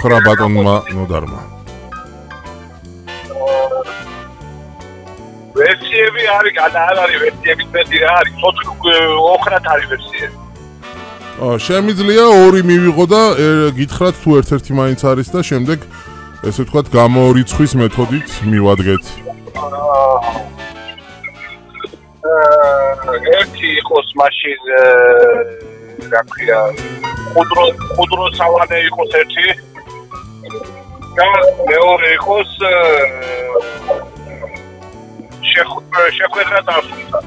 ხრა ბატონმა ნოდარმა. ვერსიები არის, არ არის ვერსიების მეტი რა არის, 4 არის ვერსიები. შემიძლია 2 მივიღო და გითხრათ თუ ერთ-ერთი მაინც არის და შემდეგ ესე ვთქვათ გამორიცხვის მეთოდით მივადგეთ. ერთი იყოს მაშინ რა ქვია ხუდრო სავანე იყოს ერთი და მეორე იყოს შეხვედრა დასრულდა.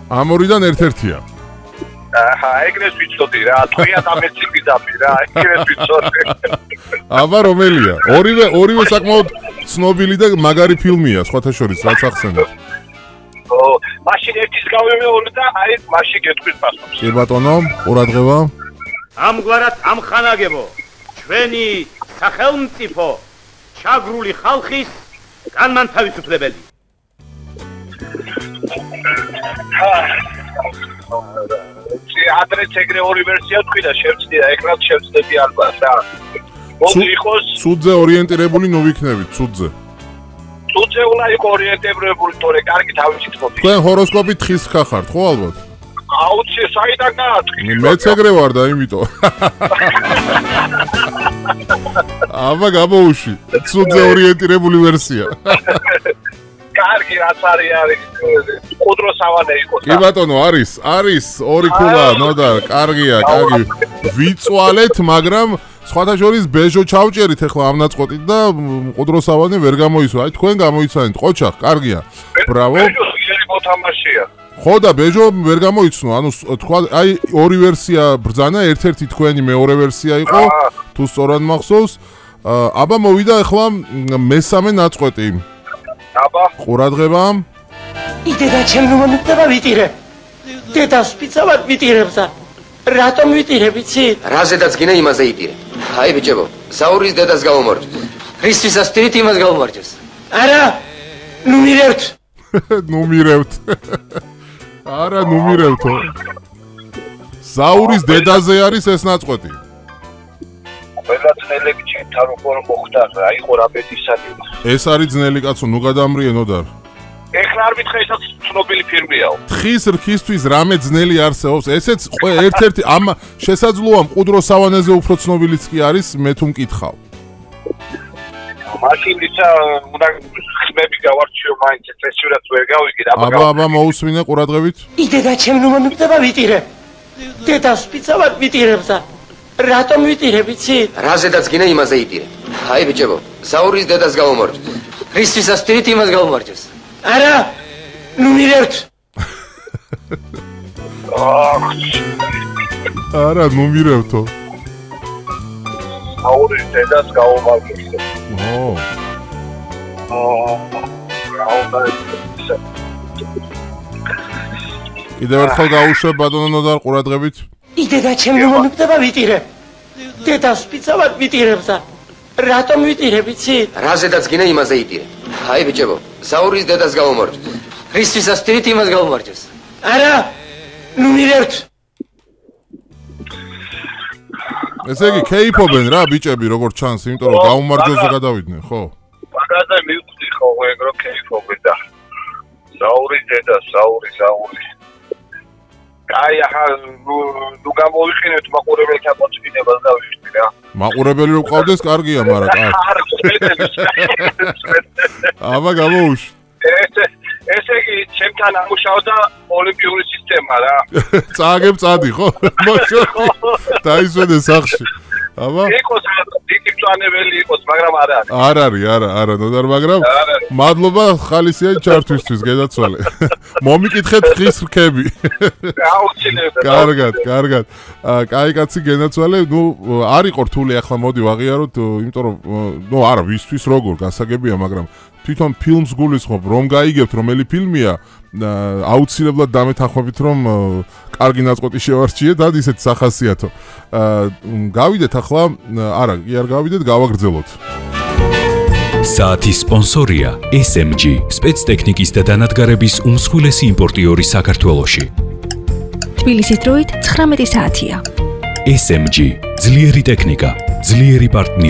ამ ორიდან ერთ-ერთია. ეგრეს ვიცოდი რა, თქვია დამეცი დაბი რა, ეგრეს ვიცოდი. აბა რომელია? ორივე საკმაოდ ცნობილი და მაგარი ფილმია, სხვათა შორის, რაც ახსენეთ. მაშინ ერთის გავიმეორე და აი მაშინ გეტყვის პასუხს. კი ბატონო, ყურადღება. ამგვარად ამხანაგებო, ჩვენი სახელმწიფო ჩაგრული ხალხის განმანთავისუფლებელი. ადრეც ეგრე ორი ვერსია თქვი და შევწდია, ეკრანს შევწდები ალბათ რა. მოდი იყოს ცუდზე ორიენტირებული ნუ ვიქნებით, ცუდზე. ცუდზე უნდა იყოს ორიენტირებული, თორე კარგი თავისი თქობი. თქვენ ჰოროსკოპით თხის ხახართ, ხო ალბათ? აუცი საიდან გაათქვი? მეც ეგრე ვარ და იმიტომ. აბა გამოუშვი, ცუდზე ორიენტირებული ვერსია. კარგი რაც არის ხუდრო სავანე იყოს. კი ბატონო, არის 2 ქულა, ნოდარ, კარგია, კარგი. ვიწვალეთ, მაგრამ სხვათა შორის ბეჟო ჩავჭერით ახლა ამ ნაწყვეტით და ხუდრო სავანე ვერ გამოისვა. აი თქვენ გამოიცანით, ყოჩახ, კარგია. ბრავო. ბეჟო ძლიერი მოთამაშეა. ხო და ბეჟო ვერ გამოიცნო, ანუ თქვა აი 2 ვერსია ბრძანა, ერთ-ერთი თქვენი მეორე ვერსია იყო, თუ სწორად მახსოვს. აბა მოვიდა ახლა მესამე ნაწყვეტი. აბა ყურადღება. იდედა ჩემ მომენტება ვიტირე. დედას პიცავად ვიტირებს და რატომ ვიტირებ იცი? რაზედაც გინე იმაზე იტირე. აი ბიჭებო, საურის დედას გავუმორჩეს. რისთვის ასტირით იმას გავუმორჩეს? არა, ნუ მირევთ. ნუ მირევთ. არა, ნუ მირევთო. საურის დედაზე არის ეს ნაწყვეტი. ყველა ძნელები ჩემთან როგორ მოხდა რა, იყო რა ბედისანი. ეს არის ძნელი კაცო, ნუ გადამრიენო და. ეხლა არ მითხრა ესაც ცნობილი ფილმიაო. თხის რქისთვის რამე ძნელი არსებობს? ესეც ერთ-ერთი ამ შესაძლოა მყუდრო სავანეზე უფრო ცნობილიც კი არის, მე თუ მკითხავ. მაშინ ისა უნდა ხმები გავარჩიო მაინც წესიურად ვერ გავიგე და აბა მოусმინე ყურადღებით. იდედა ჩემ მომენტება ვიტირე. დედას პიცავად ვიტირებს და რატომ ვიტირებ იცი? რაზედაც გინე იმაზე იტირე. აი ბიჭებო, საურის დედას გავუმორჩეს. რისთვის ასტირით იმას გავუმორჩეს? არა, ნუ მირევთ. არა, ნუ მირევთო. საურის დედას გავუმორჩეს. კიდევ ერთხელ გაუშვებ ბატონო ნოდარ ყურადღებით. იდედა ჩემ მომენტება ვიტირე. დედას პიცავად ვიტირებს და რატომ ვიტირებ იცი? რაზედაც გინე იმაზე იტირე. აი ბიჭებო, საურის დედას გავუმორჩეს. რისთვის ასტირით იმას გავუმორჩეს? არა, ნუ მირევთ. ესე იგი კეიფობენ რა ბიჭები როგორც ჩანს, იმიტომ რომ გაუმარჯვეზე გადავიდნენ, ხო? მაგაზე მივხვდი ხო ეგრო კეიფობენ და საურის დედა, საური. აი ახლა ნუ გამოვიყენებთ მაყურებელთა მოწინებას და ვიშთი რა. მაყურებელი რო ყავდეს კარგია, მაგრამ კარგი. აბა გამოუშვ. ესე იგი ჩემთან ამუშავდა ოლიმპიური სისტემა რა. წააგებ წადი ხო? დაისვენე სახში. აბა იყოს დიდი პლანებელი იყოს, მაგრამ არ არის. არა, ნოდარ, მაგრამ მადლობა ხალისიანი ჩართვისთვის, გადაცვალე. მომიკითხეთ ხის რქები. აუცილებლად. კარგად. კაი კაცი გენაცვალე, ნუ არ იყო რთული ახლა მოდი ვაღიაროთ, იმიტომ რომ ნუ არა, ვისთვის როგორ გასაგებია, მაგრამ თვითონ ფილმს გულისხმობ, რომ გაიგებთ რომელი ფილმია, აუცილებლად დამეთანხმებით, რომ კარგი ნაწყვეტი შევარჩიეთ, და ისეთ სახასიათო. გავიდეთ ახლა, არა, კი არ გავიდეთ, გავაგრძელოთ. საათის სპონსორია SMG, სპეცტექნიკის და დანადგარების უმსხვილესი იმპორტიორი საქართველოში. თბილისის დროით 19 საათია. SMG, ძლიერი ტექნიკა. ძლიერი პარტნიორი